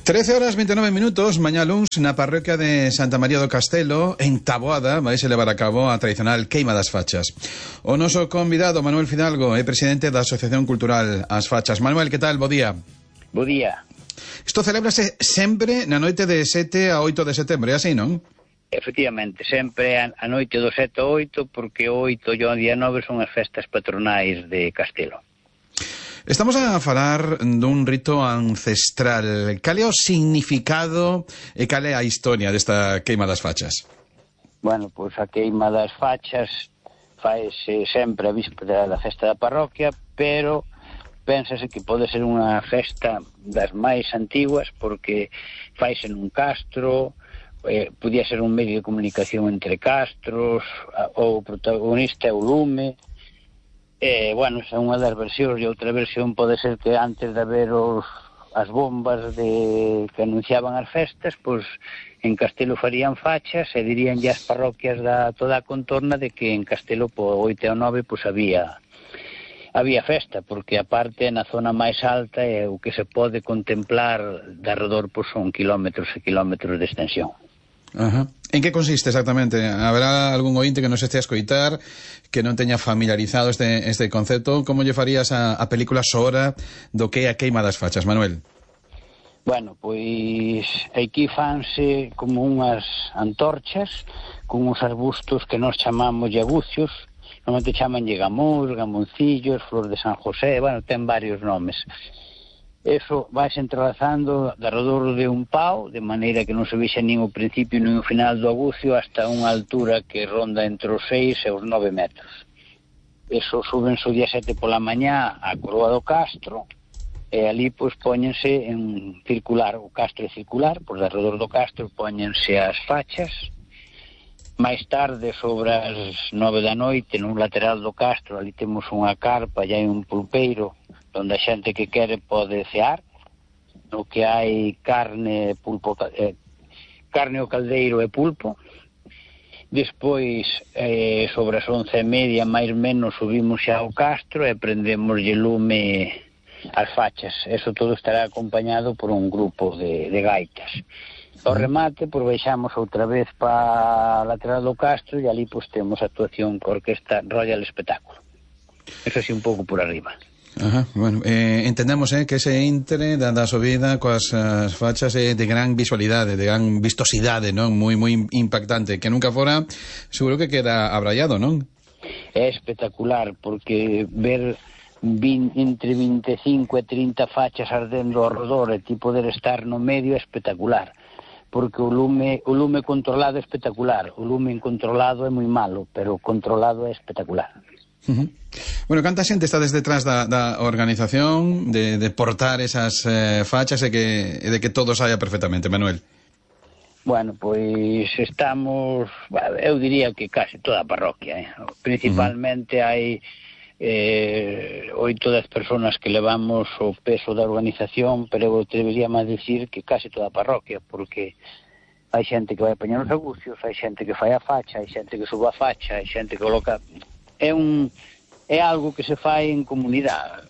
13:29, mañá luns, na parroquia de Santa María do Castelo, en Taboada, vaise levar a cabo a tradicional queima das fachas. O noso convidado, Manuel Fidalgo, é presidente da Asociación Cultural As Fachas. Manuel, que tal? Bo día. Bo día. Isto celébrase sempre na noite de 7 a 8 de setembro, é así, non? Efectivamente, sempre a noite do 7 a 8, porque o 8 e o día 9 son as festas patronais de Castelo. Estamos a falar dun rito ancestral. Cal é o significado e cal é a historia desta queima das fachas? Bueno, pois a queima das fachas faise sempre a víspera da festa da parroquia, pero pénsase que pode ser unha festa das máis antiguas, porque faise nun castro, podía ser un medio de comunicación entre castros, o protagonista é o lume. Bueno, esa é unha das versións, e outra versión pode ser que antes de haber as bombas que anunciaban as festas, pois en Castelo farían fachas e dirían ya as parroquias da toda a contorna de que en Castelo po 8 ao 9 pois había festa, porque aparte na zona máis alta é o que se pode contemplar de arredor pois son kilómetros e kilómetros de extensión. Ajá. En que consiste exactamente? Haberá algún ointe que nos este a escoitar que non teña familiarizado este concepto? Como lle farías a película sonora do que é a queima das fachas, Manuel? Bueno, pois aquí fanse como unhas antorchas con uns arbustos que nós chamamos llagucios, normalmente chamanlle gamús, gamoncillos, flor de San José, bueno, ten varios nomes. Eso vais entrelazando de alrededor de un pau, de maneira que non se vexa nin o principio nin o final do agucio, hasta unha altura que ronda entre os 6 e os 9 metros. Eso súbense o día 7 pola mañá á coroa do castro, e ali pois póñense en circular, o castro é circular, pois de alrededor do castro póñense as fachas. Mais tarde, sobre as 9 da noite, no lateral do castro, ali temos unha carpa, e hai un pulpeiro, onde a xente que quere pode cear, no que hai carne, pulpo, carne ao caldeiro e pulpo. Despois, sobre as 11:30, máis ou menos, subimos xa ao castro e prendemoslle lume as fachas. Eso todo estará acompañado por un grupo de gaitas. Ao remate, pois baixamos outra vez para a lateral do castro e ali pois temos a actuación con a Orquesta Royal Espectáculo. Eso así un pouco por arriba. Ajá, bueno, entendemos que ese intre da subida coas fachas é de gran visualidade, de gran vistosidade, non? Moi impactante, que nunca fora, seguro que queda abraiado, non? É espectacular, porque ver entre 25 e 30 fachas ardendo ao redor e ti poder estar no medio é espectacular, porque o lume controlado é espectacular, o lume incontrolado é moi malo, pero o controlado é espectacular. Uh-huh. Bueno, canta xente está desde detrás da organización de portar esas fachas e de que todo saia perfectamente, Manuel? Bueno, pois estamos, eu diría que casi toda a parroquia, principalmente hai 8 ou 10 personas que levamos o peso da organización, pero eu debería máis dicir que casi toda a parroquia, porque hai xente que vai apañar os agucios, hai xente que fai a facha, hai xente que suba a facha, hai xente que coloca... É algo que se fai en comunidade.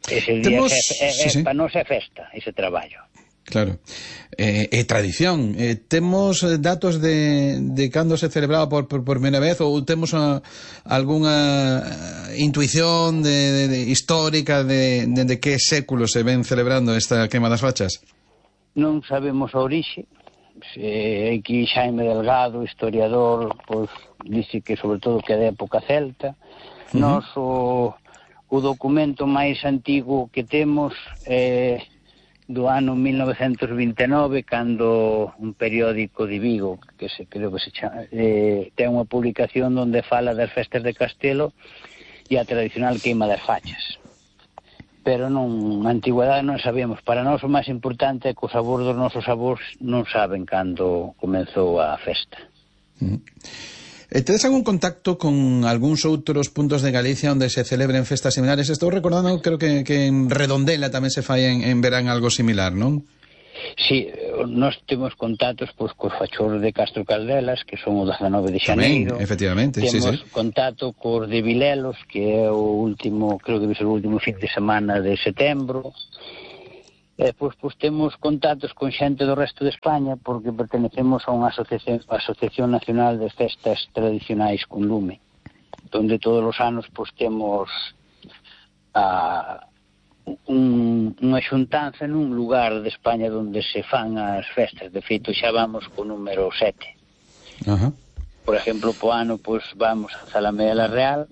Ese día sí. Para nós é festa, ese traballo. Claro. É tradición. Temos datos de cando se celebraba por primeira vez, ou temos algunha intuición histórica de que século se ven celebrando esta queima das fachas? Non sabemos a orixe. Aquí Xaime Delgado, historiador, pois dice que sobre todo que é da época celta. Nos o documento máis antigo que temos é do ano 1929, cando un periódico de Vigo, que creo que se chama, ten unha publicación onde fala das festas de Castelo e a tradicional queima das fachas. Pero na antigüedade non sabíamos. Para nós o máis importante é que os avós dos nosos avós non saben cando comenzou a festa. Tedes algún contacto con algúns outros puntos de Galicia onde se celebren festas similares? Estou recordando, creo que en Redondela tamén se fai en verán algo similar, non? Sí, nós temos contactos cos fachorros de Castro Caldelas, que son o 19 de xaneiro. Tamén, efectivamente, temos sí. contacto cos de Vilelos, que é o último, creo que é o último fin de semana de setembro. Pois temos contactos con xente do resto de España porque pertenecemos a unha asociación nacional de festas tradicionais con lume, donde todos os anos temos unha xuntanza nun lugar de España onde se fan as festas. De feito xa vamos co número 7. Por exemplo, po ano vamos a Zalamea la Real,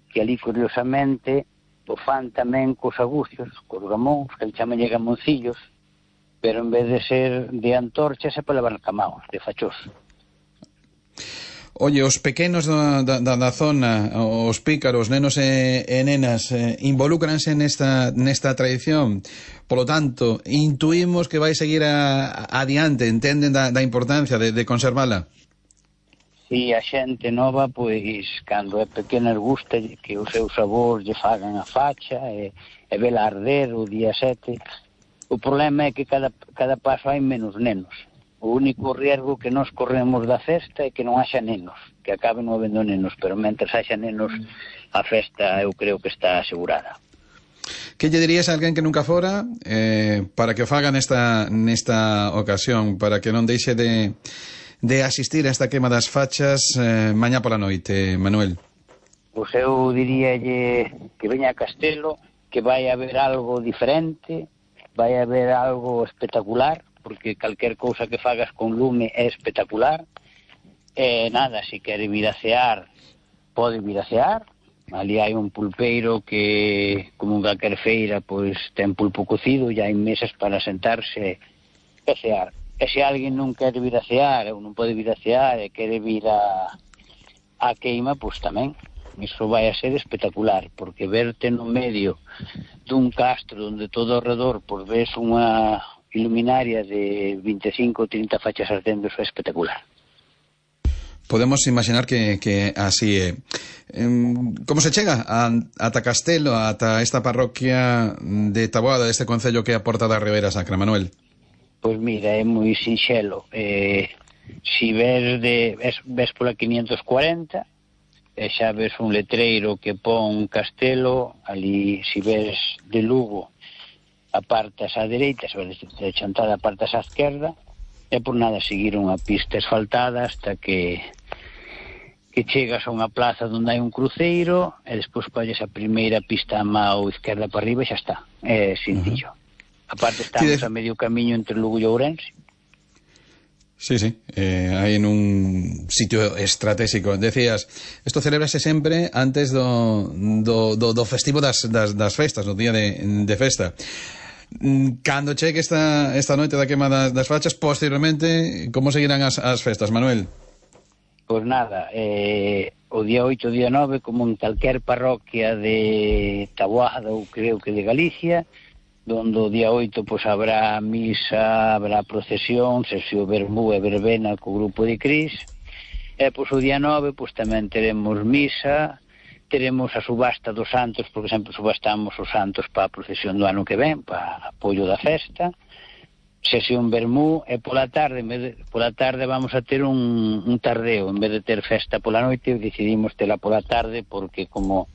que ali curiosamente o fan tamén cos agucios, cos gamóns, que chaman gamoncillos, pero en vez de ser de antorchas é para levar camaos, de fachós. Oye, os pequenos da zona, os pícaros, nenos e nenas, involúcranse nesta tradición. Polo tanto, intuímos que vai seguir adiante, entenden da importancia de conservala. Si a xente nova, cando é pequena, gusta que os seus avós lle fagan a facha e vela arder o día 7. O problema é que cada paso hai menos nenos. O único riesgo que nós corremos da festa é que non haxa nenos, que acaben non habendo nenos, pero mentre haxa nenos, a festa eu creo que está asegurada. Que lle dirías a alguén que nunca fora para que o faga nesta ocasión, para que non deixe de asistir a esta quema das fachas mañá pola noite, Manuel? Pois eu diríalle que veña a Castelo, que vai haber algo diferente, vai haber algo espectacular, porque calquer cousa que fagas con lume é espectacular. Nada, se quere vir a cear, pode vir a cear. Ali hai un pulpeiro que, como en calquer feira, ten pulpo cocido, e hai mesas para sentarse e cear. E se alguén non quere vir a cear, ou non pode vir a cear, e quere vir a queima, tamén. Iso vai a ser espectacular, porque verte no medio dun castro onde todo ao redor ves unha iluminaria de 25 ou 30 fachas ardendo, é espectacular. Podemos imaginar que así é. Como se chega ata Castelo, ata esta parroquia de Taboada, deste concello que é a Porta da Ribeira Sacra, Manuel? Pois mira, é moi sinxelo. Si ves pola 540, xa ves un letreiro que pon Castelo. Ali, si ves de Lugo, apartas á dereita, se ves de Chantada apartas á esquerda, é por nada seguir unha pista asfaltada hasta que chegas a unha plaza onde hai un cruceiro, e despois colles a primeira pista a mão esquerda para arriba e xa está. É sencillo. Aparte estamos a medio camiño entre Lugo e Ourense. Sí, hai en un sitio estratégico. Decías, isto celébrase sempre antes do festivo das festas, no día de festa. Cando chegue esta noite da quema das fachas, posteriormente, como seguirán as festas, Manuel? Pois nada, o día 8 o día 9, como en calquer parroquia de Taboada ou creo que de Galicia, donde o día 8 habrá misa, habrá procesión, sesión vermú e verbena co grupo de Cris, e o día 9 tamén teremos misa, teremos a subasta dos santos, porque sempre subastamos os santos para a procesión do ano que ven, para apoio da festa, sesión vermú, e pola tarde vamos a ter un tardeo. En vez de ter festa pola noite, decidimos tela pola tarde, porque como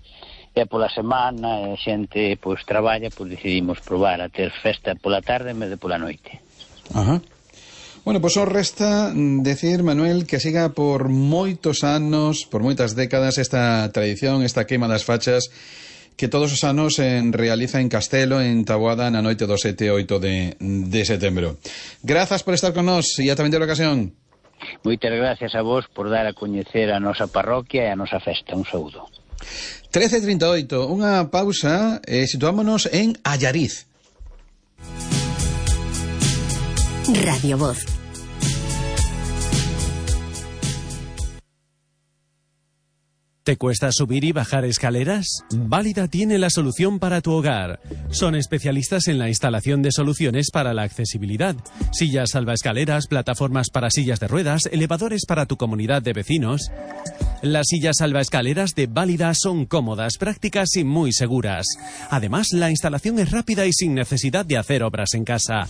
é pola semana e a xente traballa, decidimos probar a ter festa pola tarde en vez de pola noite. Bueno, só resta decir, Manuel, que siga por moitos anos, por moitas décadas, esta tradición, esta queima das fachas, que todos os anos se realiza en Castelo, en Taboada, na noite do 7 e 8 de setembro. Grazas por estar con nós e ata vindeira ocasión. Moitas gracias a vos por dar a coñecer a nosa parroquia e a nosa festa. Un saúdo. 13:38, unha pausa e situámonos en Allariz. Radio Voz. ¿Te cuesta subir y bajar escaleras? Válida tiene la solución para tu hogar. Son especialistas en la instalación de soluciones para la accesibilidad. Sillas salvaescaleras, plataformas para sillas de ruedas, elevadores para tu comunidad de vecinos. Las sillas salvaescaleras de Válida son cómodas, prácticas y muy seguras. Además, la instalación es rápida y sin necesidad de hacer obras en casa.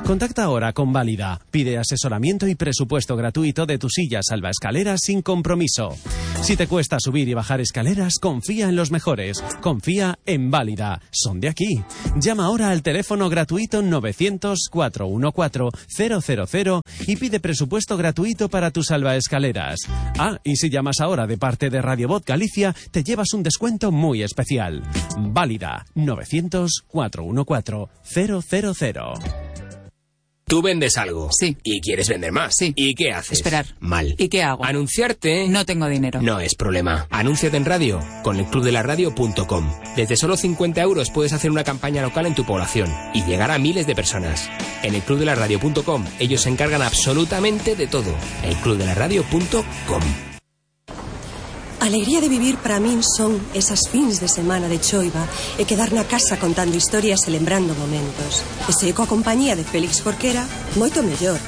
Contacta ahora con Válida. Pide asesoramiento y presupuesto gratuito de tu silla salvaescaleras sin compromiso. Si te cuesta subir y bajar escaleras, confía en los mejores. Confía en Válida. Son de aquí. Llama ahora al teléfono gratuito 900-414-000 y pide presupuesto gratuito para tus salvaescaleras. Ah, y si llamas ahora de parte de Radio Voz Galicia, te llevas un descuento muy especial. Válida. 900-414-000. Tú vendes algo. Sí. Y quieres vender más. Sí. ¿Y qué haces? Esperar. Mal. ¿Y qué hago? Anunciarte. No tengo dinero. No es problema. Anúnciate en radio con elclubdelaradio.com. Desde solo 50 € puedes hacer una campaña local en tu población y llegar a miles de personas. En elclubdelaradio.com ellos se encargan absolutamente de todo. elclubdelaradio.com. A alegría de vivir para min son esas fins de semana de choiva e quedar na casa contando historias e lembrando momentos. E se coa compañía de Félix Jorquera, moito mellor.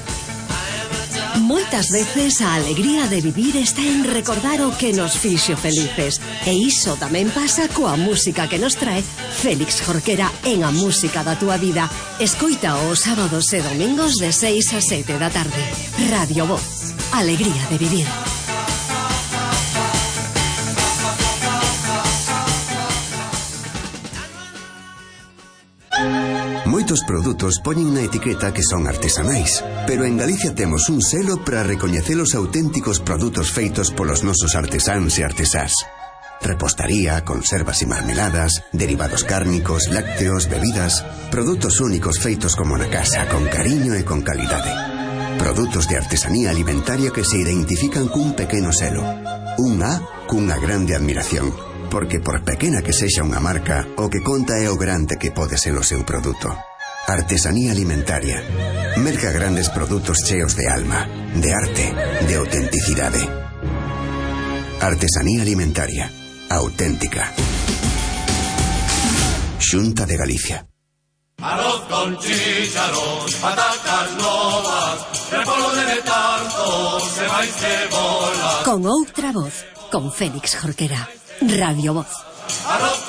Moitas veces a alegría de vivir está en recordar o que nos fixo felices. E iso tamén pasa coa música que nos trae Félix Jorquera en A Música da Túa Vida. Escoita os sábados e domingos de 6 a 7 da tarde. Radio Voz. Alegría de vivir. Moitos produtos poñen na etiqueta que son artesanais, pero en Galicia temos un selo para recoñecer os auténticos produtos feitos polos nosos artesáns e artesás. Repostaría, conservas e marmeladas, derivados cárnicos, lácteos, bebidas, produtos únicos feitos como na casa, con cariño e con calidade. Produtos de artesanía alimentaria que se identifican cun pequeno selo. Un A cunha grande admiración. Porque por pequena que sexa unha marca, o que conta é o grande que pode ser o seu produto. Artesanía alimentaria. Merca grandes produtos cheos de alma, de arte, de autenticidade. Artesanía alimentaria. Auténtica. Xunta de Galicia. Arroz con chícharos, patacas novas, repolo de tanto, se vai cebola. Con outra voz, con Félix Jorquera. Radio Voz.